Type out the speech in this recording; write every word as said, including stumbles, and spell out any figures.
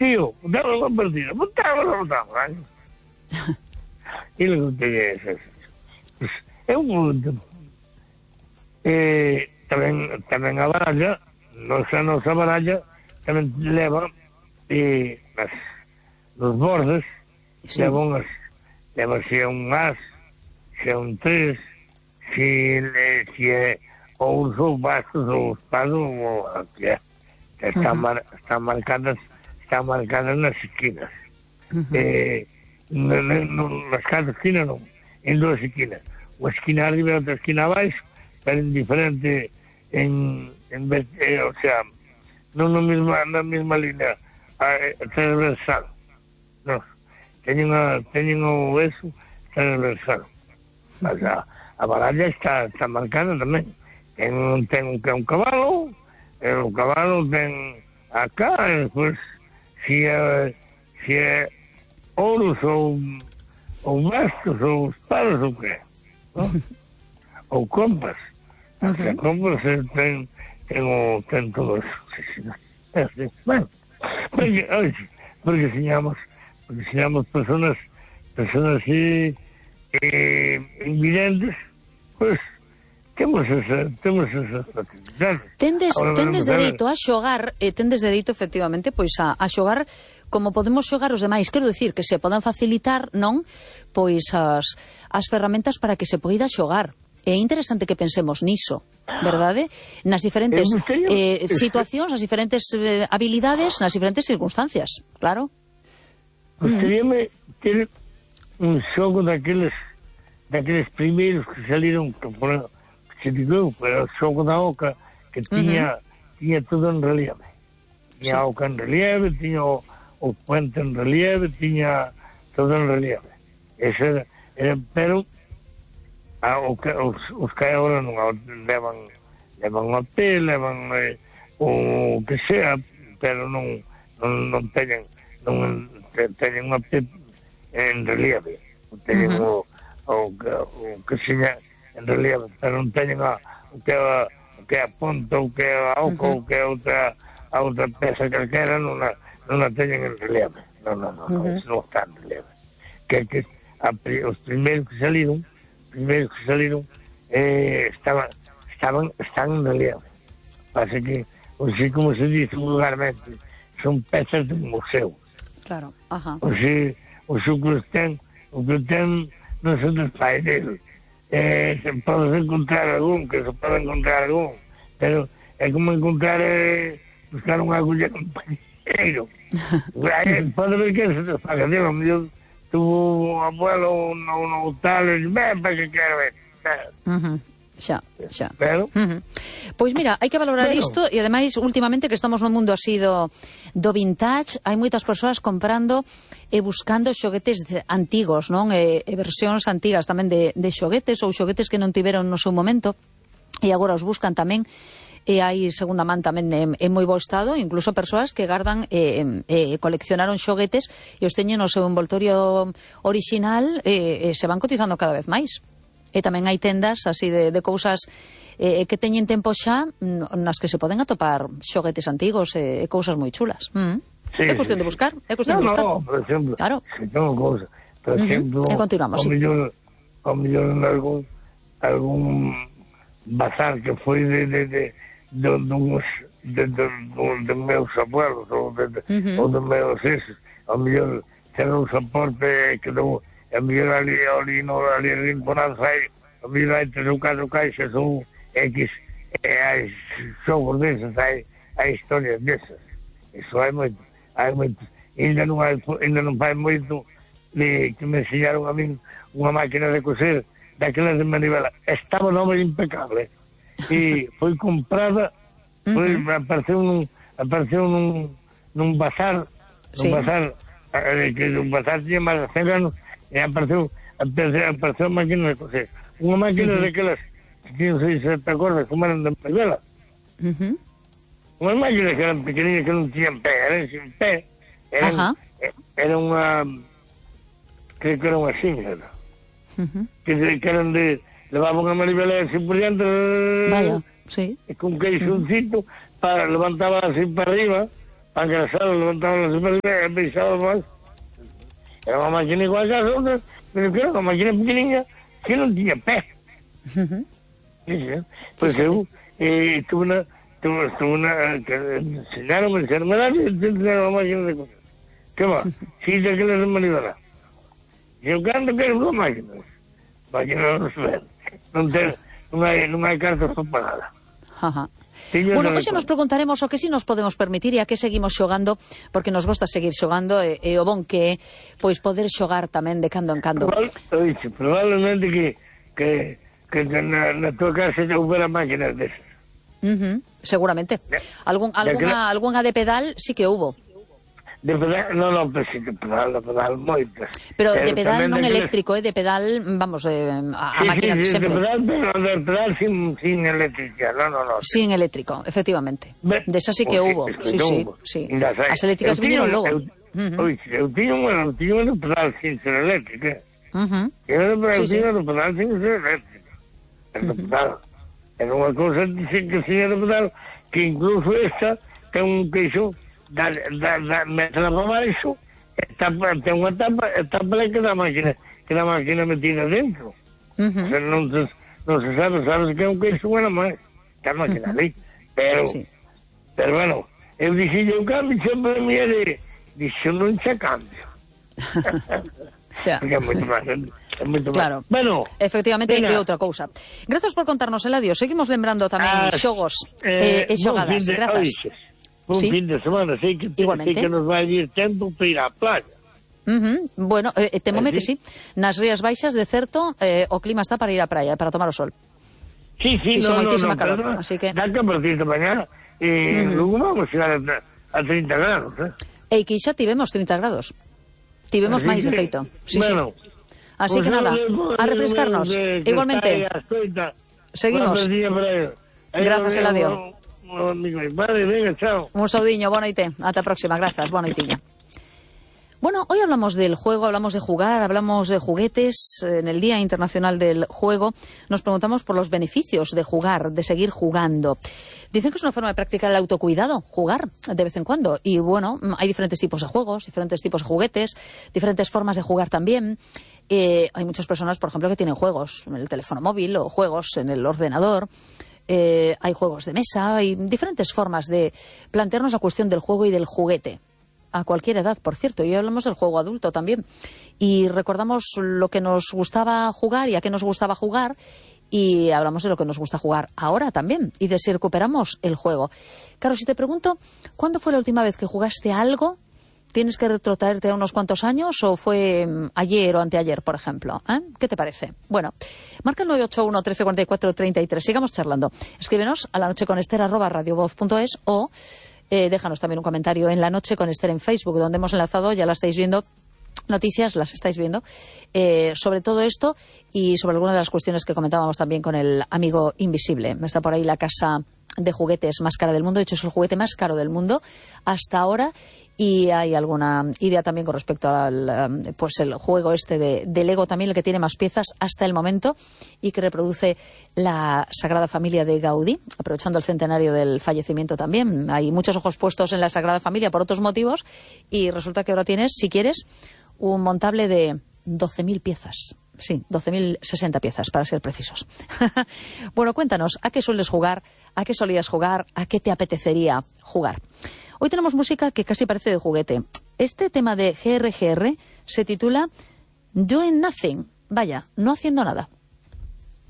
tío, dame una partida, botamos, botamos, ¿eh? E logo teñe esas. Pues, é un mundo. Eh, tamén, tamén a baralla, nosa nosa baralla, tamén leva eh, nas, nos bordes, sí. leva unhas, leva se un as, se un tres, se, se é ou os ou bastos ou espados ou que é. Están, uh-huh. mar, están marcadas están marcadas nas esquinas. Uh-huh. Eh, no, no, no, nas cada esquina non, en dúas esquinas. Unha esquina arriba e outra esquina abaixo, pero en diferente, en, en eh, o sea, non na mesma, na mesma línea eh, transversal. Non. Teñen, a, teñen o eso transversal. Uh-huh. O sea, a baralla está, está marcada tamén. Ten, ten un, un cabalo, o cabalo ten acá, e despois se é, se é ouros ou, ou bastos ou espadas ou que, ¿no? Ou compas. Uh-huh. As compas ten, ten, o, ten todo eso. É así. Bueno, porque, oye, porque enseñamos, porque enseñamos personas, personas así, eh, invidentes, pues, temos esa, temos esas facilidades. Tendes, tendes dereito a xogar, e tendes dereito, efectivamente, pois a, a xogar como podemos xogar os demais. Quero dicir que se podan facilitar, non, pois as, as ferramentas para que se poida xogar. É interesante que pensemos niso, verdade? Nas diferentes eh, situacións, nas diferentes eh, habilidades, nas diferentes circunstancias, claro. Gustaríame mm. ter un xogo daqueles daqueles primeiros que saliron, que por se digo, pero o xogo da oca que tiña, uh-huh. tiña todo en relieve. Tiña sí. a oca en relieve, tiña o, o puente en relieve, tiña todo en relieve. Ese era, era pero a, o que, os, os que agora non levan levan a pé, levan eh, o que sea, pero non non, non teñen non teñen unha pé en relieve. Teñen uh-huh. o, o, o que seña en relieve, pero non teñen a, o que a, o que a ponta, o que a oca, uh-huh. o que a outra, a outra peça calquera, non a, non a teñen en relieve. Non, non, non, uh-huh. non, non está en relieve. Que, que a, os primeiros que saliron, primeiros que saliron, eh, estaban, estaban, están en relieve. Pasa que, así como se dice vulgarmente, son pezas de un museo. Claro, ajá. O sea, o que ten, o que ten, non son dos paireiros. Eh, se podes encontrar algún, que se pode encontrar algún, pero é como encontrar eh, buscar unha agulla en un pañeiro. Pode ver que se te faga, digo, yo tuvo un abuelo, un, un tal, e ven para que quero ver. Uh-huh. Xa, xa. Pero, uh-huh. Pois mira, hai que valorar pero... isto, e ademais últimamente que estamos no mundo así do, do vintage, hai moitas persoas comprando e buscando xoguetes antigos, non? E, e versións antigas tamén de, de xoguetes ou xoguetes que non tiveron no seu momento e agora os buscan tamén, e hai segunda man tamén en, en moi bo estado, incluso persoas que gardan e eh, eh, coleccionaron xoguetes e os teñen no seu envoltorio original e eh, se van cotizando cada vez máis. E tamén hai tendas así de, de cousas eh, que teñen tempo xa nas que se poden atopar xoguetes antigos e eh, cousas moi chulas. Mm. Sí, é cuestión de buscar, é cuestión no, de buscar. No, por exemplo, claro. Se tengo cousas, por uh-huh. exemplo, e continuamos, o sí. millón, o millón algún algún bazar que foi de de de de uns de, de, de, de meus abuelos ou de, de, uh-huh. ou de meus esos, o millón ten un soporte que non a mellor ali, ali, no, ali rinconado hai, a mellor hai tres ou catro caixas ou X, e hai xogos desas, hai, hai historias desas. Iso hai moito, hai moito. Ainda non hai, ainda non fai moito de, que me enseñaron a min unha máquina de coser, daquelas de manivela. Estaba nova impecable. E foi comprada, foi, uh-huh. apareceu nun, apareceu nun, nun bazar, sí. nun bazar, eh, que un bazar tiña máis de cen anos, e apareceu, apareceu, apareceu a máquina de coser. Unha máquina uh-huh. daquelas que non sei se te acordas como eran de manivela. Uh-huh. Unha máquina que eran pequeninas que non tiñan pé, eran sin pé. Eran, uh-huh. era unha, creo que era unha xinga, uh-huh. que, que eran de, levaban a manivela así por diante, vaya, sí. e con queixoncito, uh-huh. para, levantaba así para arriba, para engrasar, levantaban las espaldas, pisaba más. Era una máquina igual que las otras, pero que era una máquina pequeña que no tenía pez. Uh-huh. Sí, sí. Pues yo eh, tuve una, tuve, tuve una, que enseñaron a enfermedad y enseñaron una máquina de coser. ¿Qué va? Sí, de que les manivela. Yo canto que era una máquina. Máquina no se ve. Non, ten, non, hai, non hai cartas para nada. Ajá. Bueno, hoxe nos preguntaremos o que si nos podemos permitir e a que seguimos xogando, porque nos gosta seguir xogando e, e o bon que é pois poder xogar tamén de cando en cando. Probable, oixe, probablemente que, que, que na, na tua casa houbera máquinas desas. Uh-huh, seguramente. Algún, alguna, alguna de pedal sí que hubo. De pedal, no, no, pero sí, de pedal, de pedal, moitas. Pero de pedal non eléctrico, eh, de pedal, vamos, eh, a, a sí, máquina sí, sí, sempre. De pedal, pero de pedal sin, sin eléctrica, no, no, no. Sin eléctrico, efectivamente. De esa sí que hubo, sí, sí, sí. As eléctricas vinieron logo. Oi, eu tiño unha, eu tiño unha de pedal sin ser eléctrica. Uh-huh. Eu tiño de pedal sin ser eléctrica. De pedal. Era unha cousa que tiña de pedal, que incluso esta ten un queixo. Da, da, da, métela para baixo, tapa, ten unha tapa, tapa que da máquina, que da máquina metida dentro. Uh-huh. O sea, non, se, non se sabe, sabes que é un queixo bueno máis, que a máquina uh-huh. ali. Pero, sí. pero bueno, eu dixi, eu cambio, sempre me de, dixo, non xa cambio. Xa. Porque é moito máis, é moito claro. máis. Bueno, efectivamente, é outra cousa. Grazas por contarnos, Eladio. Seguimos lembrando tamén ah, xogos eh, e xogadas. De, grazas. Oixe. Un ¿sí? fin de semana, sei que, sei que nos vai ir tempo para ir á playa. Uh-huh. Bueno, eh, temome ¿sí? que sí. Nas Rías Baixas, de certo, eh, o clima está para ir á praia, para tomar o sol. Sí, sí, Fixo no, no, no, calor, pero, así que... dá que a partir de mañana, eh, uh-huh. luego vamos a chegar a, a treinta grados, eh? E que xa tivemos treinta grados. Tivemos máis, de feito. Sí, bueno, sí. Así pues que nada, a refrescarnos. De, de, Igualmente. Seguimos. Grazas, Eladio. Vale, venga, chao. Un saudiño, boa noite. Ata a próxima, grazas, boa noitiña. Bueno, hoy hablamos del juego, hablamos de jugar, hablamos de juguetes. En el Día Internacional del Juego nos preguntamos por los beneficios de jugar, de seguir jugando. Dicen que es una forma de practicar el autocuidado, jugar de vez en cuando. Y bueno, hay diferentes tipos de juegos, diferentes tipos de juguetes, diferentes formas de jugar también. Eh, hay muchas personas, por ejemplo, que tienen juegos en el teléfono móvil o juegos en el ordenador. Eh, hay juegos de mesa, hay diferentes formas de plantearnos la cuestión del juego y del juguete. A cualquier edad, por cierto. Y hablamos del juego adulto también. Y recordamos lo que nos gustaba jugar y a qué nos gustaba jugar. Y hablamos de lo que nos gusta jugar ahora también. Y de si recuperamos el juego. Claro, si te pregunto, ¿cuándo fue la última vez que jugaste algo? ¿Tienes que retrotraerte a unos cuantos años o fue ayer o anteayer, por ejemplo? ¿Eh? ¿Qué te parece? Bueno, marca el nueve ocho uno, trece cuarenta y cuatro, treinta y tres. Sigamos charlando. Escríbenos a la noche con Ester arroba radiovoz punto es o eh, déjanos también un comentario en La Noche con Ester en Facebook, donde hemos enlazado, ya la estáis viendo, noticias, las estáis viendo, eh, sobre todo esto y sobre algunas de las cuestiones que comentábamos también con el amigo invisible. Está por ahí la casa de juguetes más cara del mundo. De hecho, es el juguete más caro del mundo hasta ahora. Y hay alguna idea también con respecto al pues el juego este de, de Lego también, el que tiene más piezas hasta el momento y que reproduce la Sagrada Familia de Gaudí, aprovechando el centenario del fallecimiento también. Hay muchos ojos puestos en la Sagrada Familia por otros motivos y resulta que ahora tienes, si quieres, un montable de doce mil piezas. Sí, doce mil sesenta piezas, para ser precisos. Bueno, cuéntanos, ¿a qué sueles jugar? ¿A qué solías jugar? ¿A qué te apetecería jugar? Hoy tenemos música que casi parece de juguete. Este tema de G R G R se titula Doing Nothing. Vaya, no haciendo nada.